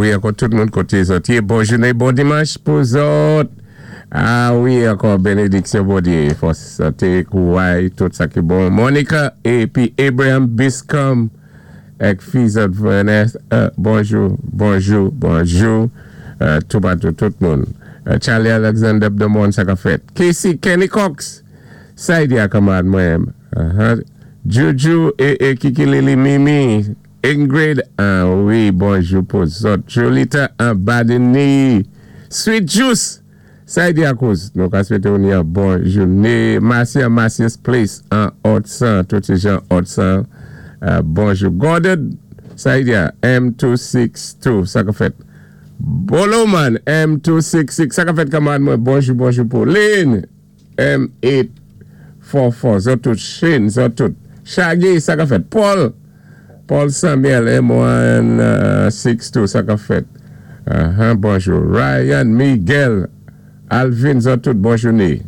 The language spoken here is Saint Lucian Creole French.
Wi, ankò tout moun koté zòt yé, bon jouné, bon dimanch pou zòt. A wi, ankò bénédiksyon Bondyé, fòs, santé, kouray, tout sa ki bon. Monica épi Abraham Biscom èk fi zòt Vanessa, bonjou, bonjou, bonjou toupatou tout moun. Charlie Alexander Bdomon, sa k ap fèt? Casey Kenny Cox, sa y di a kanmarad mwen? Juju e Kiki Lili Mimi Ingrid an wi bonjou pou zòt Jolita an Badeni Sweet Juice sa y di a kouz nou ka swete w ni an bon joune Marcy an Marcius Place an Otsan tout se jan Otsan bonjou Gordon sa y di a M262 sa k ap fèt Boloman M266 sa k ap fèt kanmarad mwen bonjou bonjou pou Lynn M 8 fò fò zòt tout Shane zòt tout Shaggy sa kap fèt Paul Paul Samuel M 1 6 2 sa kap fèt Bonjou Ryan Miguel Alvin zòt tout bon joune.